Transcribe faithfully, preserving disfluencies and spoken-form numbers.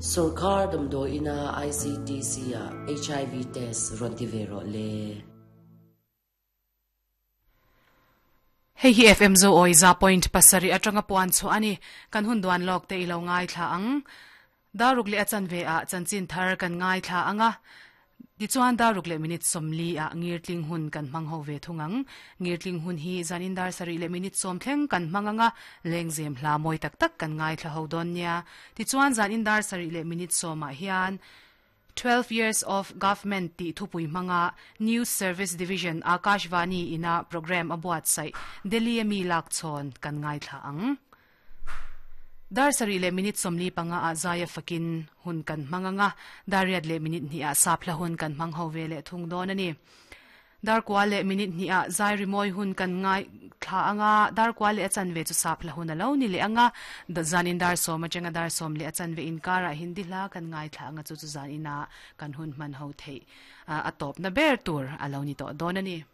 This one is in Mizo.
Sorkar damdawi ina I C T C ah H I V test rawn ti ve rawh le. Hei hi F M Zo Awi za point pasarih atanga puan chhuah a ni. Kan hun duan lawk te i lo ngaithla ang. Daruk leh a chanve ah chanchin thar kan ngaithla ang a. Tichuan daruk leh minute sawmli ah ngirtling hun kan hmang ho ve thung ang. Ngirtling hun hi zanin dar sarih leh minute sawm thleng kan hmang ang a, lengzem hla mawi tak tak kan ngaithla ho dawn nia. Tichuan zanin dar sarih leh minute sawm ah hian Twelve Years of Government tih thupui hmanga News Service Division Akashvani ina programme a buatsaih Delhi a mi lak chhawn kan ngaithla ang. Dar sarih leh minute sawmli panga ah zaia fakin hun kan hmang ang a, dar riat leh minute hnih ah saphla hun kan hmang ho ve leh thung dawn a ni. Dar kua leh minute hnih ah zai rimawi hun kan ngai thla ang a, dar kua leh a chanve chu sap hla hun a lo ni leh ang a, zanin dar sawm atanga dar sawm leh a chanve inkarah Hindi hla kan ngai thla ang a, chu chu zanin ah kan hun hman ho theih a tawpna ber tur a lo ni tawh dawn a ni.